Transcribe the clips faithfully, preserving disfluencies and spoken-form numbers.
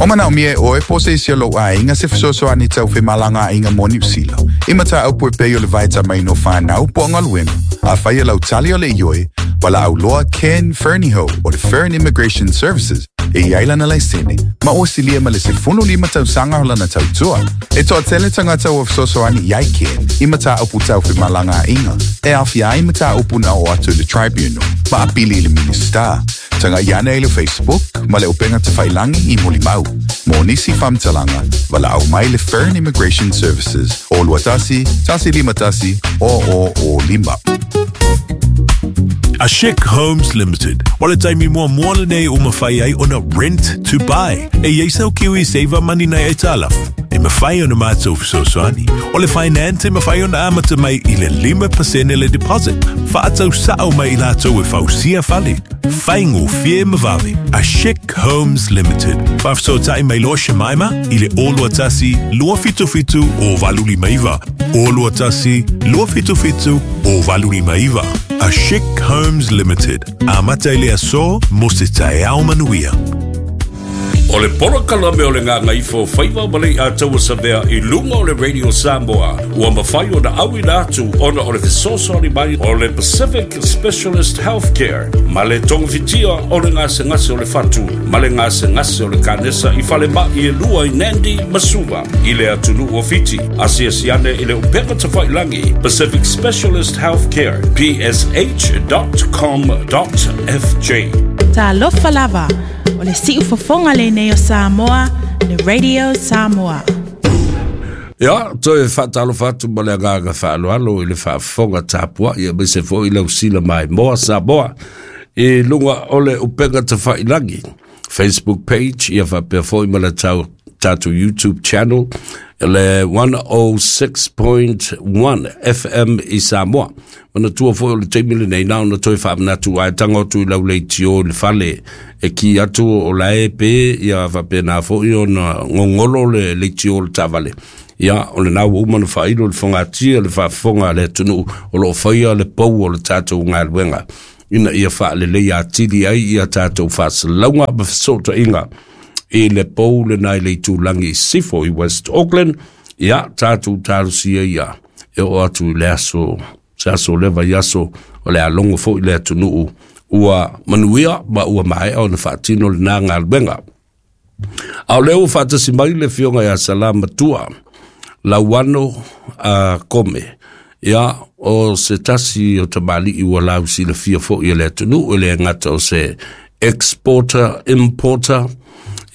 O manaʻomia e ʻoe po o se isi o lou aiga se fesoasoani tau femalagaaiga mo Niusila. I mataupu e pei o le vaetamaiga o fanau po o galuega. Afai o lau tali o le ioe, valaau loa Ken Ferniho o le Fern Immigration Services e i ai lana laisene, ma ua silia ma le sefulu lima tausaga o lana tautua. E toatele tagata ua fesoasoani i ai Ken i mataupu tau femalagaaiga, e aofia ai mataupu na oo atu i le Tribunal, ma apili i le Minisita. Tagai ane i le Facebook ma le upega tafailagi i Molimau. Mo nisi faamatalaga, valaau mai le Fern Immigration Services o lua tasi, tasi lima tasi, o o o lima. A Chic Homes Limited. O le taimi muamua lenei ua mafai ai ona rent to buy. E i ai sau Kiwi Saver Money nai aitalafu. E mafai ona matou fesoasoani. O le finance e mafai ona amata mai i le lima pasene le deposit. Faatau sao mai i latou e fausia fale. Faigofie ma vave. A Chic Homes Limited. Faafesootai mai loa Shemaima i le o lua tasi, lua fitu fitu, o valu lima iva. O lua tasi, lua fitu fitu, o valu lima iva. A Chic Homes Limited. Amata i le aso mo se taeao manuia. O le polokalame o le Gagaifo Faiva ma le Iataua Savea i luga o le Radio Samoa ua mafai ona auina atu ona o le fesoasoani mai o le Pacific Specialist Healthcare ma le togafitia o le gasegase o le fatu ma le gasegase o le kanesa i falemai e lua i Nandi ma Suva i le atunuu o Fiti. Asiasi ane i le upega tafailagi Pacific Specialist Healthcare P S H dot com dot F J. Talofa lava, o le siufofoga lenei o Samoa, le Radio Samoa. Ia, toe faatalofa atu ma le agaga faaaloalo i le faafofoga tapuai, aemaise foi lau sila maimoa Samoa i luga o le upega tafailagi Facebook page, ia faapea foi ma le tau tatou YouTube channel, le one oh six point one F M i Samoa. Manatua foi o le taimi lenei na ona toe faamanatu ai tago atu i lau leitio i le fale e ki atu o lae pe, ia faapena foi ona gogolo le leitio o le taavale. Ia, o lena ua uma ona faailo le fogatia le faafofoga a le atunuu o loo faia le pou o le tatou galuega ina ia faalelei atili ai ia tatou faasalauga ma fesootaiga i le pou lena i le itulagi i Sifo i West Auckland. Ia, tatou talosia ia e oo atu i le aso, se aso leva i aso o le alogo foi le atunuu ua manuia ma ua maea ona faatino lena galuega. A o lea ua faatasi mai le afioga ia Salamatua Lauano a Kome. Ia, o se tasi o tamalii ua lausilafia foi e le atunuu, e le gata o se exporter, importer.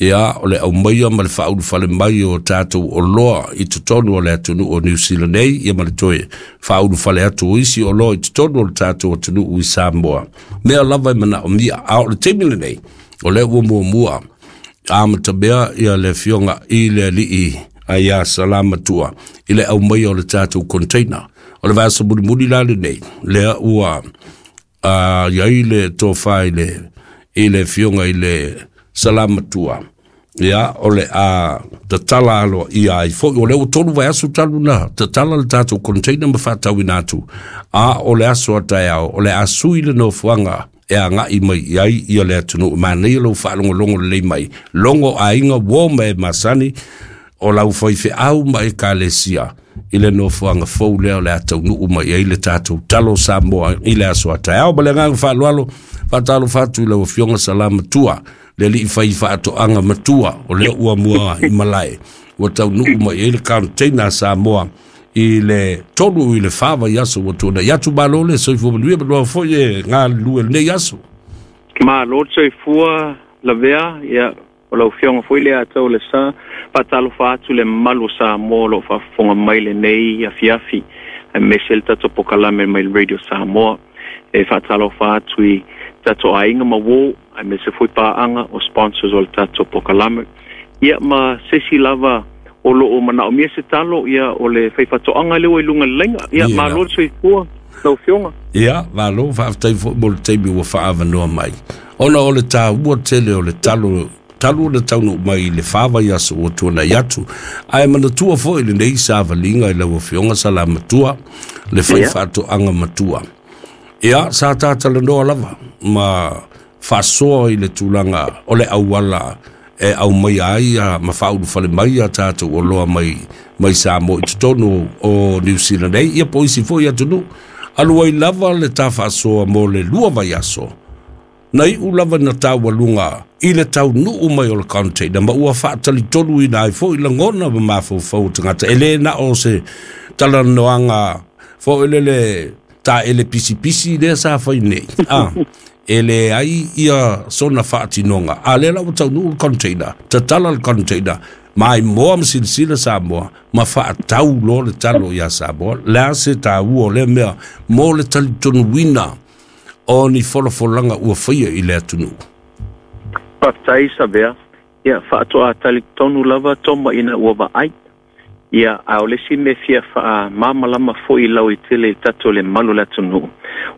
Ia, o le aumaia ma le faaulufale mai o tatou oloa i totonu o le atunuu o New Zealand nei, ia ma le toe faaulufale atu o isi oloa i totonu o le tatou atunuu i Samoa. Mea lava e manaomia, a o le taimi lenei, o lea ua muamua amatamea ia le afioga i le alii ia Salamatua i le aumaia o le tatou container. O le vaiaso mulimuli la lenei, lea ua uh, iai le tofa i le, i le afioga i le Salamatua. Ia, o le a tatala alo ia ai foi, o le ua tolu vaiaso talu na tatala le tatou container ma faatauina atu. A o le aso a taeao, o le a sui le nofoaga e agai mai i ai ia le atunuu. Manaia lou faalogologo lelei mai, logo aiga uo ma e masani o lau faifeau ma ekalesia i le nofoaga fou lea o le a taunuu mai ai le tatou talo Samoa i le aso a taeao. Ma le agaga faaaloalo, faatalofa atu i lau afioga Salamatua, le alii fai faatoaga matua o lea ua mua i malae ua taunuu mai ai le container a Samoa i le tolu i le fa vaiaso ua tuanai atu. Malo le soifua manuia, manoa foi e galulue lenei aso. Malo le soifua lavea, ia o lau afioga foi le atau le sa, faatalofa atu le mamalu o Samoa o loo faafofoga mai lenei afiafi, aemaise le tatou pokalame mai le Radio Samoa. E faatalofa atu i tatou aiga ma uō, aemaise foi paaga o sponsors o le tatou pokalame. Ia ma se isi lava o loo manaomia se talo, ia o le faifatoaga lea ua i luga le laina. Ia, malo le soifua lau afioga. Ia, malo, faafetai foi mo le taimi ua faaavanoa mai. Ona o le taua tele o le talo talu o le taunuu mai i le fa vaiaso ua tuanai atu. Ae manatua foi lenei savaliga i lau afioga Salamatua, le faifaatoaga matua. Ia, sa tatalanoa lava ma faasoa i le tulaga o le auala E au mai ai a ma faaulufale mai a tatou oloa mai mai Samoa i totonu o Niu Sila nei, ia po o isi fo'i atunuu. Alu ai lava le tafaasoa mo le lua vaiaso. Na iu lava na taualuga i le taunuu mai o le container ma ua faatalitoluina ai fo'i lagona ma mafaufau o tagata. E lē na o se talanoaga fo'i lele taele pisipisi lea sa fai nei. A e leai ia sona faatinoga. A lea la ua taunuu le container, tatala le container, maimoa ma silasila Samoa ma faatau loa le talo iā Samoa. Le a se tāua o lea mea mo le talitonuina o ni folafolaga ua faia i le atunuu? Faafetai Savea. Ia faatoa talitonu lava toma ina ua vaai. Ia a o le isi mea fia faamalamalama fo'i lauitele i tatou le malu o le atunuu.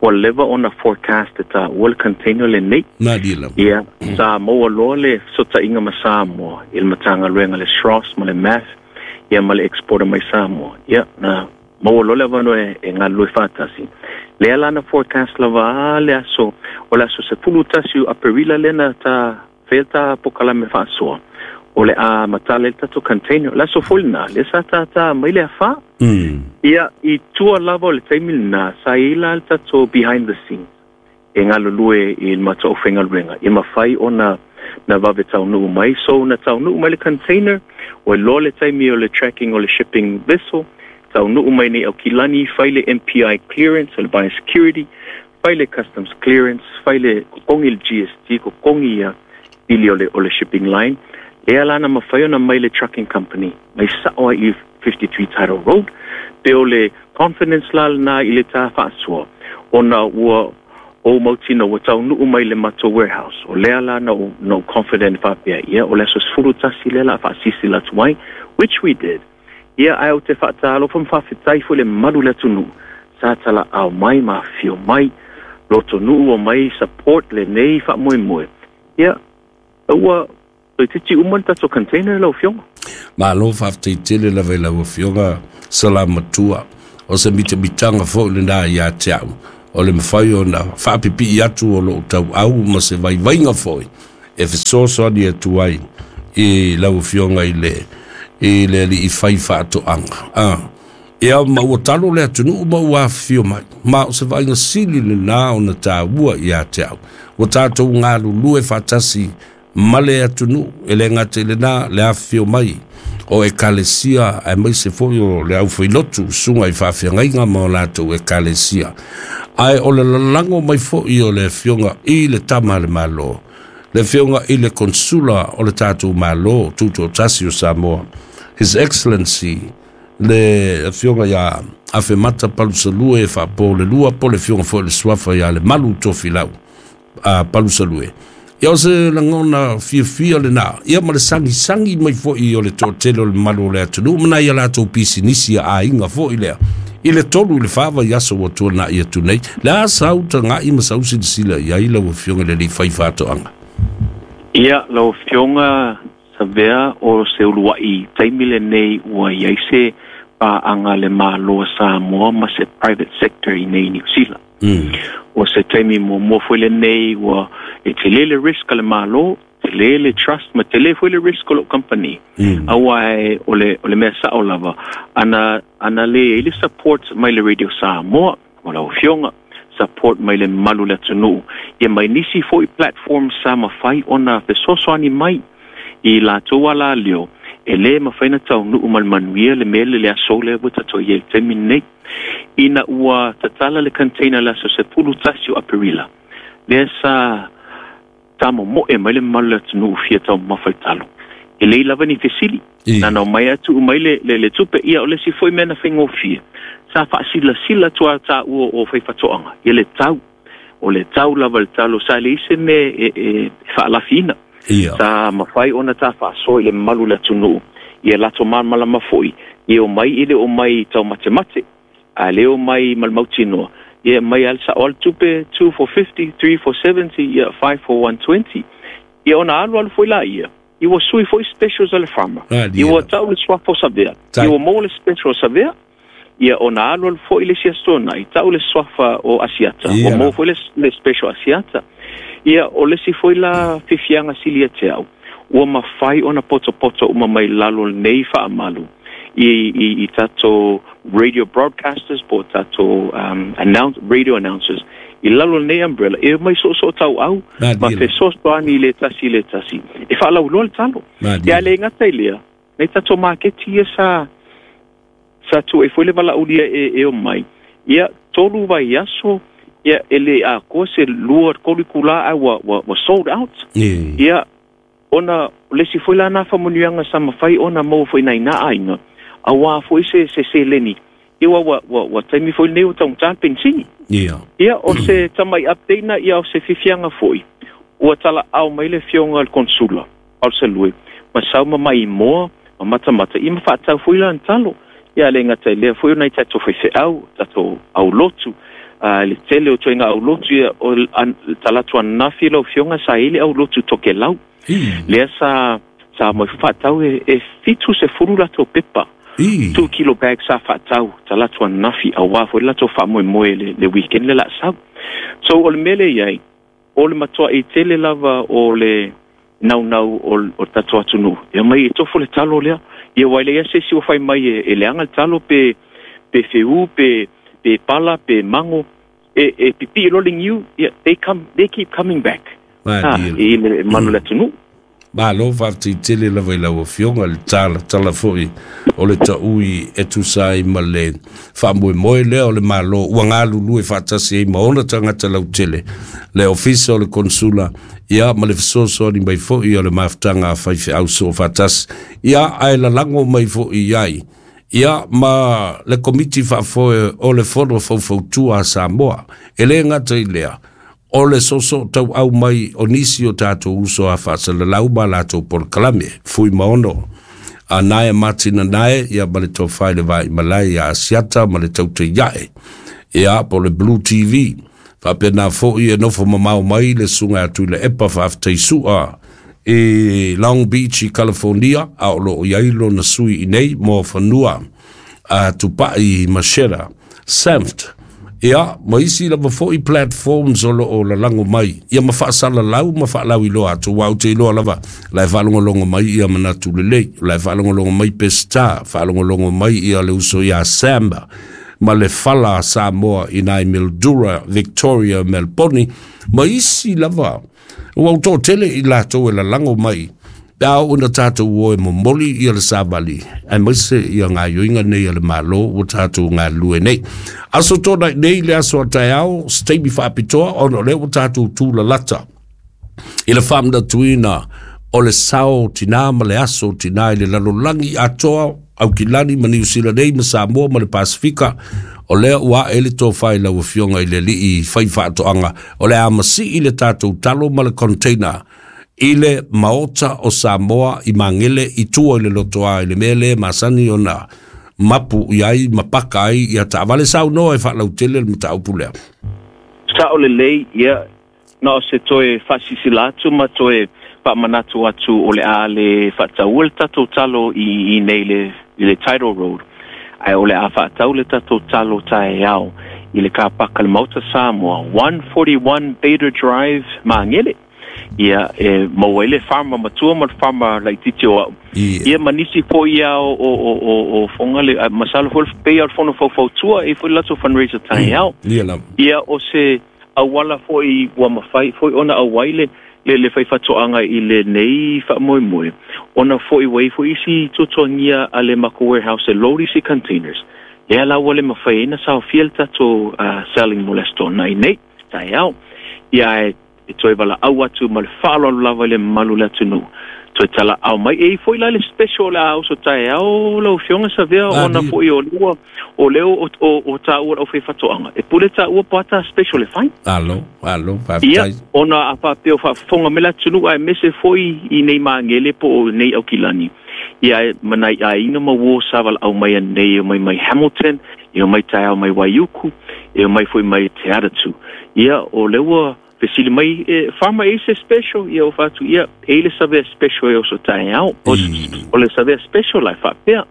Ua leva ona forecast e taua le container lenei. Malie lava. Ia sa maua loa le fesootaiga ma Samoa i le Matagaluega le S R O S ma le M A F, ia ma le exporter mai Samoa. Ia na maua loa le avanoa e, e galulue faatasi. Lea la na forecast lava a le aso o le aso sefulu tasi o Aperila lea na ta faia ta pokalame faasoa. O le a matala le tatou container. O le aso foi lena, lea sa tātā mai le afā. Mm. Ia, i tua lava o le taimi lena, sa i la le tatou behind the scenes e galulue i le matou aufaigaluega. Ia mafai ona na vave taunuu mai. So na taunuu mai le container, ua iloa le taimi o le tracking o le shipping vessel, taunuu mai nei Aukilani, fai le M P I clearance, o le biosecurity, fai le customs clearance, fai le kokogi le G S T, kokogi ia pili o le, o le shipping line. Lea la na mafai ona mai le trucking company, mai sa'o ai i fifty-three Title Road, pe o le confidence la lena i le tā faasoa, ona ua o mautino ua taunuu mai le matou warehouse. O lea la na ou, na ou confident faapea, ia, o le aso sefulu tasi lea la faasisi atu ai, which we did. Ia, ae ou te faatalofa ma faafetai foi le malu le atunuu. Sa talaau mai ma afio mai, lotonuu o mai support lenei faamoemoe. Ia, ua toeitiiti uma le tatou container lau Afioga. Malo faafetai tele lava i lau Afioga Salamatua. O se mitamitaga fo'i lenā iā te a'u. O le mafai ona faapipii atu o loo tauau ma se vaivaiga fo'i e fesoasoani atu ai i lau Afioga i le i le alii fai faatoaga. A ia ma ua talo le atunuu ma ua afifio mai. Ma o se vaaiga sili lenā ona tāua iā te a'u. Ua tatou galulue faatasi ma le atunuu e le gata i lenā le afifio mai o ekalesia aemaise foi o le aufailotu susuga i faafeagaiga ma o latou ekalesia. Ae o le lalago mai fo'i o le afioga i le tama a le Malo, le afioga i le konsula o le tatou Malo Tutoatasi o Samoa, His Excellency le afioga iā Afemata Palusalue Faapo le Lua, po le afioga foi le suafa iā le Malu Tofilau a Palusalue. Ia o se lagona fiafia lenā, ia ma le sagisagi mai fo'i o le toatele o le mamalu o le atunuu ma nai a latou pisinisi a aiga fo'i lea. I le tolu i le fa vaiaso ua tuana'i atu nei, le a sau taga'i ma sau silasila i ai lau Afioga i le alii fai faatoaga? Ia, lau Afioga Savea, o se ulua'i taimi lenei ua iai se paaga le Malo o Samoa ma se private sector i nei Niu Sila. Mm. O se taimi muamua foi lenei ua e tele le risk a le Malo, tele le trust ma tele foi le risk o lou company. Mm. Aua e o le, o le mea sa'o lava, ana, ana le i le support mai le Radio Samoa, o lau Afioga, support mai le malu le atunuu. Ia mai nisi foi platform sa mafai ona fesoasoani mai i latou ala leo, e lē mafai na taunuu ma le manuia le mea le le aso lea ua tatou i ai le taimi lenei. Ina ua tatala le container le aso sefulu tasi o Aperila, lea sa tamomo'e mai le mamalu le atunuu fia taumafa i talo. E lei lava ni fesili. I. Na nao mai atu mai le, le, le tupe, ia o le isi foi mea na faigofie. Sa faasilasila atu a taua o faifatoaga, ia le tau. O le tau lava le talo, sa leai se mea e, e, e faalafiina. Ia. Sa mafai ona ta faasoa i le mamalu le atunuu. Ia latou malamalama foi, ia o mai i le o mai taumatemate, a le o mai ma le mautinoa. Ia mai a le sa'o le tupe two for fifty, three for seventy, ia five for one twenty. Ia ona alu alu foi la ia. I ua sui foi specials a le farmer. Ah, I ua tau le suafa o Savea. Tai. I ua maua le special o Savea. Ia ona alu alu foi le isi aso i tau le suafa o Asiata. Ia. Ua maua foi le, le special Asiata. Ia o le isi foi la fiafiaga sili ia te au. Ua mafai ona potopoto uma mai lalo nei faamalu i, i, i tatou radio broadcasters po tatou um, announce, radio announcers i lalo nei umbrella e mai so so tau au ma fesoasoani le tasi le tasi e faalauiloa le talo. Ia le gata i lea nei tatou maketi ia sa sa tu e foi le valaaulia e, e o mai ia tolu vaiaso ia e le atoa se lua tolu itulā a ua, ua, ua sold out. Yeah. Ia ona le si foi la na faamanuiaga sa mafai ona maua foi nai na aiga auā foi se se seleni ia ua ua ua, ua taimi foi nei o taugata le penisini. Yeah. Ia o se tamai update na ia o se fifiaga foi ua talaau mai le fioga le konsula o le Salue ma sau ma maimoa ma matamata ia ma faatau foi lana talo. Ia le gata i lea foi o nai tatou faifeau tatou aulotu uh, le tele o toega aulotu ia o an, talatu ananafi lau fioga sa i le aulotu Tokelau. Lea sa sa mai faatau e, e fitu sefulu latou pepa. Two kilo bag sa faatau talatu ananafi auā foi le latou faamoemoe le, le weekend le laasau. So o le mea lea i ai o le matuaʻi tele lava o le naunau o, o tatou atunuu ia mai e tofo le talo lea ia ua leai se isi ua fai mai e, e leaga le talo pe pe feū pe pe pala pe mago e, e pipii loa le niu ia they come they keep coming back. Ha, i le manu le atunuu. Malo faafetei lava i lau afioga le talatala foi o le taui e tusa ai ma le faamoemoe lea o le malo ua galulue faatasi ai ma ona tagata lautele le ofisa o le konsula ia ma le fesoasoani mai foi o le mafutaga a faifeau soofaatasi ia ae lalago mai foi i ai ia ma le komiti faafoe o le fono faufautua a Samoa e lē gata i lea o le soso tau au mai o nisi o tatou uso a faasalalau ma latou polokalame fui maono a nae matina nae ia ma le tofai le vai malai ia Asiata ma le tautaiae ia po le Blue T V faapena foi e nofo mamao mai le suga atu i le epa faafetaisu'a e Long Beach i California a o loo iai lona sui i nei mo fanua a tupaʻi Mashera Sanft ia ma isi lava foi platforms o loo lalago mai ia ma faasalalau ma faalauiloa atu ua ou te iloa lava la e faalogologo mai ia manatu lelei la e faalogologo mai Pesita faalogologo mai ia le uso ia Samba ma le fala a Samoa i nai Mildura Victoria Melbourne ma isi lava ua ou toatele i latou e lalago mai pe a oo ina tatou o e momoli ia le savali aemaise ia gaioiga nei a le malo ua tatou galulue nei. Aso tōnai nei le aso a taeao se taimi faapitoa ona o lea ua tatou tulalata i le faamanatuina o le sao tinā ma le aso tinā i le lalolagi atoa Aukilani ma Niu Sila nei ma Samoa ma le Pasifika o lea ua ae le tofai lau afioga i le alii fai faatoaga o le a masii le tatou talo ma le container i le maota o Samoa i Magele i tua i le lotoa i le mea lea masani ona mapu i ai ma paka ai ia taavale saunoa e faalautele le mataupu lea. Sao lelei ia na o se toe faasilasila atu ma toe faamanatu atu o le a le faataua le tatou talo i, i nei le, i le Tidal Road ae o le a faatau le tatou talo taeao i le kapaka le Maota Samoa one forty-one Bader Drive Magele. Ia e maua ai le farmer matua ma le farmer laitiiti o au. Ia ma nisi foi ia o, o, o, o, o foga le masalo foi pei o le fono faufautua e foi le latou fundraiser taeao. Ia lava. Ia o se auala foi ua mafai foi ona auai le le le faifatoaga i lenei faamoemoe ona foi ua i foi isi tuatuagia a le makou warehouse e load isi containers lea la ua le mafai ai na saofia le tatou uh, selling mo le aso toonai nei taeao. Ia e e toe valaau atu ma le faaaloalo lava i le mamalu le atunuu toe talaau mai e i foi la le special le a uso taeao lau afioga Savea ona foi o lua o lea o, o, o taua lau faifatoaga e pule taua po ata special e fai. Alo, alo, ia faafetai. Ona a faapea o faafofoga mai le atunuu aemaise foi i nei Magele po o nei Aukilani ia e manai aiga ma uo sa valaau mai anei e mai mai Hamilton e mai taeao mai Waiuku e mai foi mai Te Atatu ia o lea ua fesili mai e farmer e se special ia o fatu ia e le Savea special e o so taeao o, o le Savea special lai faapea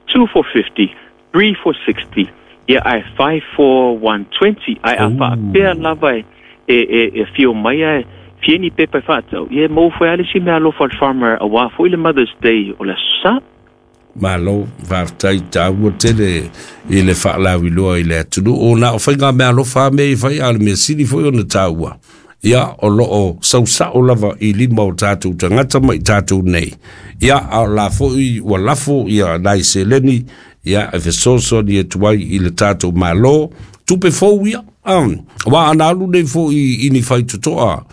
two for fifty, three for sixty ia ae five for one twenty ae a faapea lava e e, e, e fio mai ae Fia ni pepa e fa'atau, ia e maua foi a le isi meaalofa a le farmer auā foi le Mother's Day o le Aso Sa. Malo, faafetai taua tele i le faalauiloa i le atunuu. O na o faiga meaalofa a mea i fai, a o le mea sili foi ona taua, ia o loo sausao lava i lima o tatou tagata ma i tatou nei. Ia a o la foi ua lafo ia nai seleni ia e fesoasoani atu ai i le tatou Malo, tupe fou ia. Aua ana alu nei foi i ni faitotoa,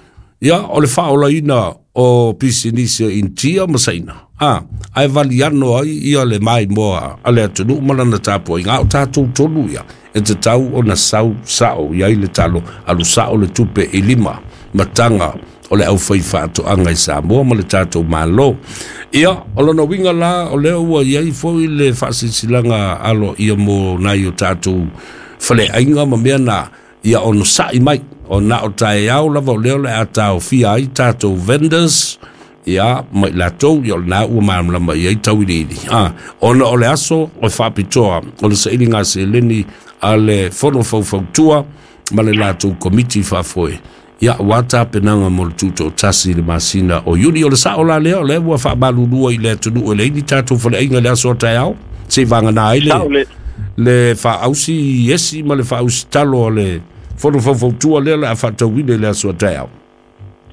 ia o le faaolaina o pisinisi a Initia ma Saina, a ae valiano ai ia le maimoa a le atunuu ma lana tapuaiga. A o tatou tonu ia e tatau ona sau sao i ai le talo, alu sao le tupe i lima mataga o le aufai faatoaga i Samoa ma le tatou Malo. Ia o lona uiga la o lea ua i ai foi le faasilasilaga aloaia mo nai o tatou faleaiga ma mea na ia onosa'i mai o na o taeao lava o lea o le a taofia ai tatou vendors ia ma i latou ia o lena ua malamalama i ai tauiliili a ona o le aso o faapitoa o le sailiga seleni a le Fono Faufautua ma le latou komiti faafoe ia ua tapenaga mo le tutoatasi i le masina o Iuni. O le sao la lea o lea ua faamalulua i le atunuu e leai ni tatou faleaiga i le aso a taeao se'i vagana ai le Sao le le faaausi esi ma le faaausi talo o le Fono Faufautua lea o le a faatauina i le aso a taeao.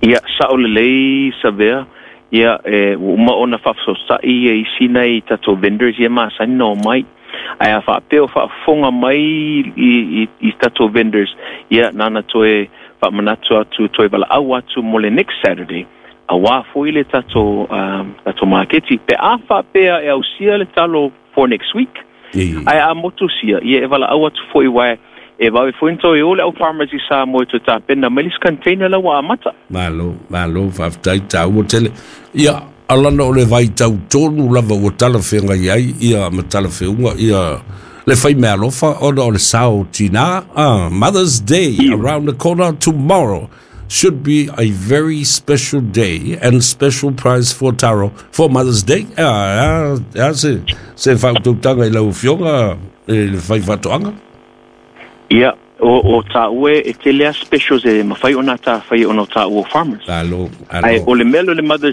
Ia, sa'o lelei Savea. Ia e ua uma ona faafesoasoa'i ia isi nai tatou vendors ia masani na omai. Ae a faapea o faafofoga mai i, i, i tatou vendors, ia na na toe faamanatu atu, toe valaau atu mo le next Saturday, auā foi le tatou, um, tatou maketi. Pe a faapea e ausia le talo for next week, ae a motusia, ia e valaau atu foi uae e vave foi na toe o le au farmers i Samoa e toe tapena mai le isi container la ua amata. Malo, malo, faafetai taua tele. Ia, alana o le vaitau tonu lava ua talafeagai ai ia ma talafeuga ia le fai meaalofa ona o le sao tinā. Ah, Mother's Day around the corner tomorrow should be a very special day and special price for taro for Mother's Day. Ah, ah, ah se se faautautaga i lau afioga e le fai faatoaga. Ia, o, o tāua e tele a specials e mafai ona tāwhai ona o tāua farmers. Alo, Ai alo. O le mea o le Mother's